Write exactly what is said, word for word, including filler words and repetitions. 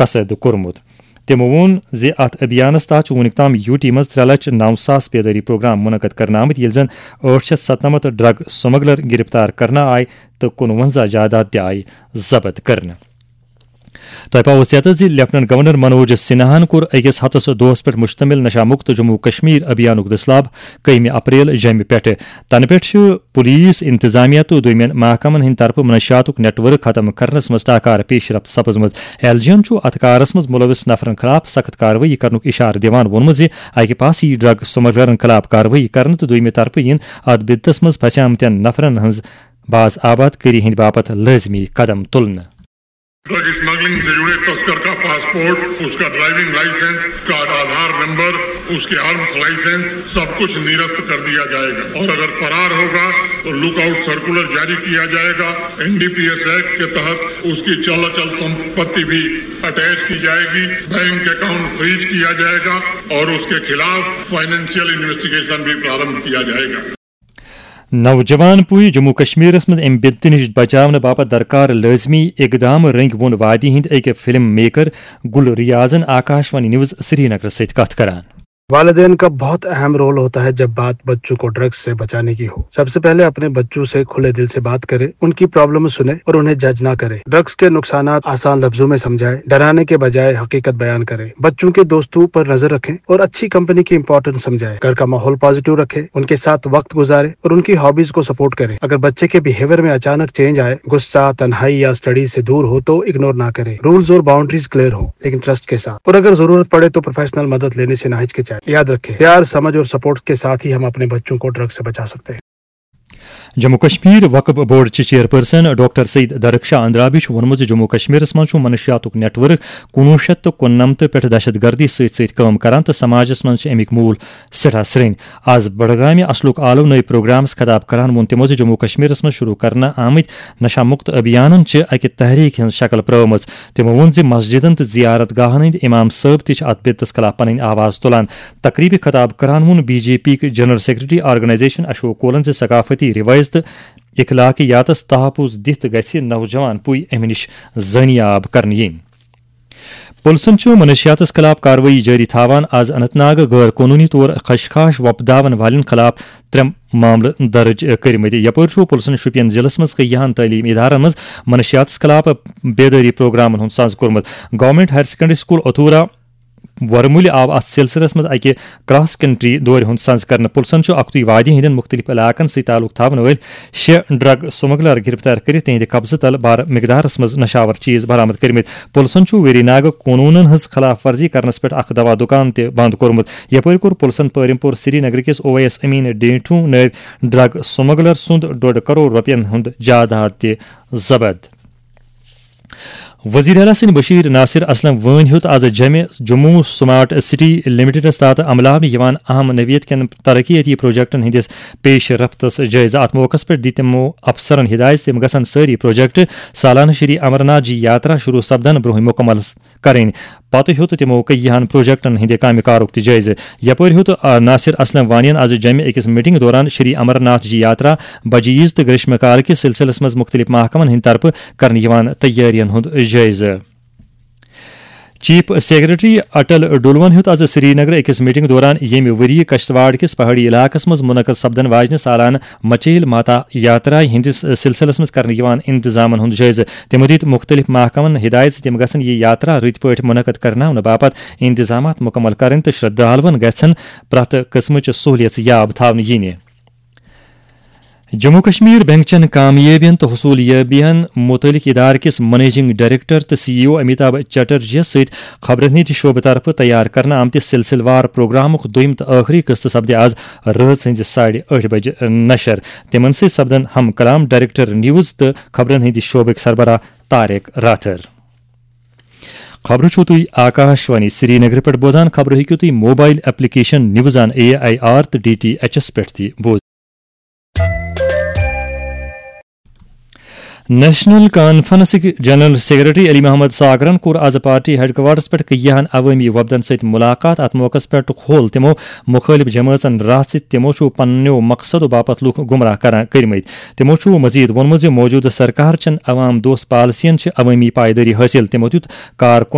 پسند کوٚرمُت۔ تِمو ووٚن زِ اتھ ابھیانس تحت چھُ وُنیُک تام یوٗ ٹی منٛز ترٛےٚ لچھ نو ساس بیدٲری پروگرام منعقد کرنہٕ آمٕتۍ، ییٚلہِ زن ٲٹھ شیٚتھ ستنمتھ ڈرگ سمگلر گرفتار کرنہٕ آے تہٕ کُنوَنزاہ جائیداد تہِ آیہِ ضبط کرنہٕ۔ تۄہہِ پاوو ژیتس زِ لیفٹیننٹ گورنر منوج سنہاہن کوٚر أکِس ہفتس دۄہس پٮ۪ٹھ مشتمل نشہ مکت جموں کشمیر ابھیانُک دٔسلاب کٔہمہِ اپریل جمہِ پٮ۪ٹھٕ۔ تنہٕ پٮ۪ٹھ چھِ پولیس، انتظامیہ تہٕ دوٚیمٮ۪ن محکمن ہٕنٛدِ طرفہٕ منشیاتُک نیٹ ورک ختم کرنس منٛز ٹاکار پیش رفت سپٕزمٕژ۔ ایل جی ین چھُ اتھ کارس منٛز ملوث نفرن خلاف سخت کاروٲیی کرنُک اشارٕ دِوان ووٚنمُت زِ اکہِ پاسہٕ یِیہِ ڈرگ سمگلرن خلاف کاروٲیی کرنہٕ تہٕ دوٚیمہِ طرفہٕ یِن اتھ بدعتس منٛز پھسیمتٮ۪ن نفرن ہٕنٛز باز آباد کٲری ہٕنٛدِ باپتھ لٲزمی قدم تُلنہٕ۔ ڈرگ اسمگلنگ سے جڑے تسکر کا پاسپورٹ، اس کا ڈرائیونگ لائسنس، اس کا آدھار نمبر، اس کے آرمز لائسنس، سب کچھ نرست کر دیا جائے گا اور اگر فرار ہوگا تو لک آؤٹ سرکولر جاری کیا جائے گا۔ N D P S act کے تحت اس کی چل اچل سمپتی بھی اٹیچ کی جائے گی، بینک اکاؤنٹ فریز کیا جائے گا اور اس کے خلاف فائنینشیل انویسٹیگیشن بھی پرارمبھ کیا جائے گا۔ نوجوان پُے جموں کشمیرس منٛز امہِ بدعتہٕ نِش بچاونہٕ باپتھ درکار لٲزمی اقدام رٔنگۍ ووٚن وادی ہٕنٛدۍ أکۍ فلم میکر گل ریاضن آکاش وانی نیوز سرینگرس سۭتۍ کتھ کران۔ والدین کا بہت اہم رول ہوتا ہے جب بات بچوں کو ڈرگز سے بچانے کی ہو۔ سب سے پہلے اپنے بچوں سے کھلے دل سے بات کریں، ان کی پرابلم سنیں اور انہیں جج نہ کریں۔ ڈرگز کے نقصانات آسان لفظوں میں سمجھائیں، ڈرانے کے بجائے حقیقت بیان کریں۔ بچوں کے دوستوں پر نظر رکھیں اور اچھی کمپنی کی امپورٹنس سمجھائیں۔ گھر کا ماحول پازیٹیو رکھیں، ان کے ساتھ وقت گزاریں اور ان کی ہابیز کو سپورٹ کریں۔ اگر بچے کے بیہیویئر میں اچانک چینج آئے، غصہ، تنہائی یا اسٹڈی سے دور ہو تو اگنور نہ کریں۔ رولز اور باؤنڈریز کلیئر ہو لیکن ٹرسٹ کے ساتھ، اور اگر ضرورت پڑے تو پروفیشنل مدد لینے سے نہ ہچکچائیں۔ یاد رکھیں، پیار، سمجھ اور سپورٹ کے ساتھ ہی ہم اپنے بچوں کو ڈرگ سے بچا سکتے ہیں۔ جموں کشمیر وقف بورڈ چہِ چیئرپرسن ڈاکٹر سعید درخشاہ اندرابی چھُ ووٚنمُت زِ جموں کشمیرس منٛز چھُ منشیاتُک نیٹ ورک کُنوُہ شیٚتھ تہٕ کُننمتہٕ پٮ۪ٹھ دہشت گردی سۭتۍ سۭتۍ کٲم کران تہٕ سماجس منٛز چھِ اَمِکۍ موٗل سٮ۪ٹھاہ سرٛنۍ۔ از بڈگامہِ اصلُک آلو نٔے پروگرامس خطاب کران ووٚن تِمو زِ جموں کشمیرس منٛز شروع کرنہٕ آمٕتۍ نشہ مکت ابھیانن چھِ اکہِ تحریک ہٕنٛز شکل پرٲومٕژ۔ تِمو ووٚن زِ مسجدن تہٕ زیارت گاہن ہٕنٛدۍ امام صٲب تہِ چھِ اتھ بدعتس خلاف پنٕنۍ آواز تُلان۔ تقریبہِ خطاب کران ووٚن بی جے پی کہِ جنرل سیکرٹری آرگنائزیشن اشوک کولن زِ ثقافتی روایژ تہٕ اخلاقیاتس تحفظ دِتھ گژھِ نوجوان پُے امہِ نِش زٲنیاب کرنہٕ یِنۍ۔ پُلسن چھُ منشیاتس خلاف کاروٲیی جٲری تھاوان۔ از اننت ناگ غٲر قونوٗنی طور خشخاش وۄپداون والٮ۪ن خلاف ترٛےٚ معاملہٕ درٕج کٔرمٕتۍ۔ یپٲرۍ چھُ پُلسن شوپین ضلعس منٛز کیاہن تعلیمی ادارن منٛز منشیاتس خلاف بیدٲری پروگرامن ہُنٛد سنز کوٚرمُت۔ گورنمنٹ ہایر سیکنڈری سکول اتھورا ورمُلہِ آو اتھ سلسلس منٛز اکہِ کراس کنٹری دورِ ہُنٛد سنز کرنہٕ۔ پُلسن چھُ اکھتُے وادی ہٕنٛدٮ۪ن مُختٔلِف علاقن سۭتۍ تعلق تھاونہٕ وٲلۍ شےٚ ڈرگ سمگلر گرفتار کٔرِتھ تِہنٛدِ قبضہٕ تل بارٕ مقدارس منٛز نشاور چیز برآمد کٔرمٕتۍ۔ پُلسن چھُ ویری ناگہٕ قونوٗنن ہٕنٛز خلاف ورزی کرنس پٮ۪ٹھ اکھ دوا دُکان تہِ بند کوٚرمُت۔ یپٲرۍ کوٚر پُلسن پٲرِم پوٗر سری نگرٕ کِس او ایس امین ڈینٹھو نٲوۍ ڈرگ سمگلر سُنٛد ڈۄڈ کرور رۄپین ہُنٛد جائیداد تہِ ضبط۔ وزیر اعلیٰ سٕنٛدۍ بشیر ناصر اسلم وٲنۍ ہیوٚت از جمہِ جموں سمارٹ سٹی لمیٹڈس تحت عملاونہٕ یِوان اہم نوعیت کٮ۪ن ترقیتی پروجیکٹن ہٕنٛدِس پیش رفتس جٲیزٕ۔ اتھ موقعس پٮ۪ٹھ دِتۍ تِمو افسرن ہدایت زِ تِم گژھن سٲری پروجیکٹ سالانہٕ شری امرناتھ جی یاترا شروع سپدن برونٛہہ مکمل کرٕنۍ۔ پتہٕ ہیوٚت تِمو کیاہن پروجیکٹن ہٕنٛدِ کامہِ کارُک تہِ جٲیزٕ۔ یپٲرۍ ہیوٚت، آ، ناصر اسلم وانین از جمہِ أکِس میٹنگ دوران شری امرناتھ جی یاترا بجیز تہٕ گریشم کال کِس سلسلس منٛز مُختٔلِف محکمن ہٕنٛدِ طرفہٕ کرنہٕ یِوان تیٲرین ہُنٛد جٲیزٕ۔ چیف سیکرٹری اٹل ڈولون ہیوٚت از سری نگر أکِس میٹنگ دوران ییٚمہِ ؤری کشتواڑ کِس پہاڑی علاقس منٛز منعقد سپدن واجنہِ سالانہٕ مچیل ماتا یاترا ہٕنٛدِس سلسلس منٛز کرنہٕ یِوان انتظامن ہُنٛد جٲیزٕ۔ تِمو دِتۍ مُختٔلِف محکمن ہدایت زِ تِم گژھن یہِ یاترا رٕتۍ پٲٹھۍ منعقد کرناونہٕ باپتھ انتظامات مُکمل کرٕنۍ تہٕ شردھالون گژھن پرٛٮ۪تھ قٕسمٕچ سہولیژ یاب تھاونہٕ یِنہِ۔ جموں کشمیر بینک چٮ۪ن کامیٲبین تہٕ حصوٗل یٲبین مُتعلق ادارٕ کِس منیجنگ ڈائریکٹر تہٕ سی ای او امیتابھ چٹرجیَس سۭتۍ خبرن ہٕنٛدِ شعبہٕ طرفہٕ تیار کرنہٕ آمتِس سلسلہٕ وار پروگرامُک دوٚیُم تہٕ ٲخری قسطہٕ سپدِ از رٲژ ہٕنٛزِ ساڑِ ٲٹھِ بجہِ نشر۔ تِمن سۭتۍ سپدن ہم کلام ڈائریکٹر نیوز تہٕ خبرن ہٕنٛدِ شعبٕکۍ سربراہ طارق راتھر۔ خبرٕ چھِو تُہۍ آکاش وانی سری نگر پٮ۪ٹھ بوزان۔ خبرٕ ہیٚکِو تُہۍ mobile application news on A I R تہٕ ڈی ٹی ایچ ایس پٮ۪ٹھ تہِ بوٗزِتھ۔ نیشنل کانفرنسٕکۍ جنرل سیکرٹری علی محمد ساگرن کوٚر از پارٹی ہیڈ کوارٹرس پٮ۪ٹھ کیاہن عوٲمی وفدن سۭتۍ مُلاقات۔ اتھ موقعس پٮ۪ٹھ کھول تِمو مُخٲلِف جمٲژن راہ زِ تِمو چھُ پننیو مقصدو باپتھ لوٗکھ گمراہ کران کٔرمٕتۍ۔ تِمو چھُ مزید ووٚنمُت زِ موجودٕ سرکار چٮ۪ن عوام دوست پالیسین چھِ عوٲمی پایدٲری حٲصِل۔ تِمو دیُت کارکُن